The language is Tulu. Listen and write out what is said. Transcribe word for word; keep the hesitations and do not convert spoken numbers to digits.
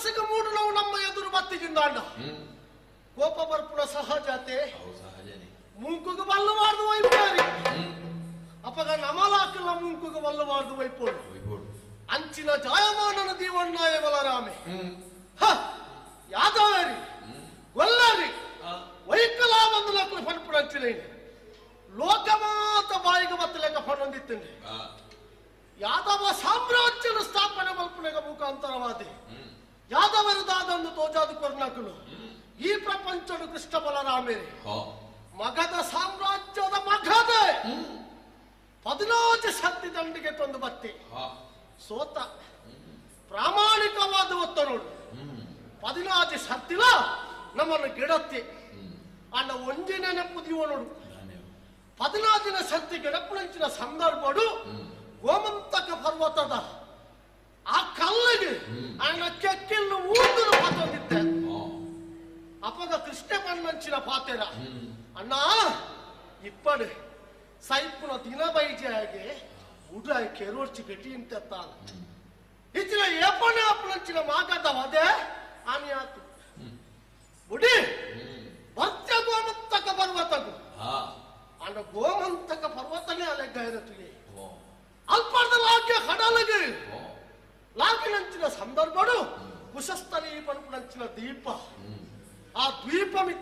ಮನಸ್ಸಿಗೆ ಮೂಡುನವು ನಮ್ಮ ಎದುರು ಬತ್ತಿಗಿಂದಾಂಡ ಕೋಪ ಬರ್ಪುಣ ಸಹಜತೆ ಮೂಕುಗೆ ಬಲ್ಲವಾರ್ದು ವೈಪೋರಿ ಅಪಗ ನಮಲಾಕಲ್ಲ ಮೂಕುಗೆ ಬಲ್ಲವಾರ್ದು ವೈಪೋಡು ಅಂಚಿನ ಜಾಯಮಾನನ ದೀವಣ್ಣಾಯ ಬಲರಾಮೆ ಹ ಯಾದವರಿ ಗೊಲ್ಲರಿ ವೈಕಲಾ ಒಂದು ಲಕ್ಕಲು ಫನ್ಪುಡಂಚಿಲೇನು ಲೋಕಮಾತ ಬಾಯಿಗೆ ಬತ್ತಲೆಕ್ಕ ಫನ್ನೊಂದಿತ್ತಂಡೆ ಯಾದವ ಸಾಮ್ರಾಜ್ಯನ ಸ್ಥಾಪನೆ ಮಲ್ಪುಣಗ ಮುಖಾಂತರವಾದಿ ಯಾದವರು ದಾದಂದು ತೋಜಾದು ಕೊರ್ನಕುಲು ಈ ಪ್ರಪಂಚಡು ಕೃಷ್ಣ ಬಲರಾಮೇರಿ ಮಗದ ಸಾಮ್ರಾಜ್ಯದ ಮಗದ ಪದಿನಾಜು ಸತ್ತಿ ದಂಡಿಗೆ ತಂದು ಬತ್ತಿ ಸೋತ ಪ್ರಾಮಾಣಿಕವಾದ ಒತ್ತನೋಡು ಪದಿನಾಜು ಸತ್ತಿಲ ನಮ್ಮನ್ನು ಗಿಡತ್ತಿ ಅಣ್ಣ ಒಂಜಿನೇ ನೆಪ್ಪುದಿವ ನೋಡು ಪದಿನಾಜಿನ ಸತ್ತಿ ಗಿಡಪ್ಪುನಂಚಿನ ಸಂದರ್ಭಡು ಗೋಮಂತಕ ಪರ್ವತದ ಆ ಕಲ್ಲಿಗೆ ಅಣ್ಣ ಕೆಕ್ಕಿಲ್ಲು ಊಂದು ಪಾತೊಂದಿದ್ದೆ ಅಪಗ ಕೃಷ್ಣ ಬಣ್ಣಂಚಿನ ಪಾತೆರ ಅಣ್ಣ ಇಪ್ಪಡು ಸೈಪುನ ದಿನ ಬೈಜೆಯಾಗೆ ಉಡ ಕೆರೋರ್ಚಿ ಗಟ್ಟಿ ಇಂತೆತ್ತಾನ ಇಚ್ಚಿನ ಏಪಣೆ ಅಪ್ಪನಂಚಿನ ಮಾಗದವದೆ ಆನಿ ಆತು ಬುಡಿ ಬರ್ತ್ಯ ಗೋಮಂತಕ ಪರ್ವತಗು ಅಣ್ಣ ಗೋಮಂತಕ ಪರ್ವತನೇ ಅಲೆಗ್ಗ ಇರತ್ತುಗೆ ಅಲ್ಪದ ಲಾಗ್ಯ ಕಡಲಗೆ ಲಾಗಿನಂಚಿನ ಸಂದರ್ಭಡು ಕುಶಸ್ಥಲಿ ಪನ್ಪುನಂಚಿನ ದೀಪ ಆ ದ್ವೀಪ ಮಿತ್ತ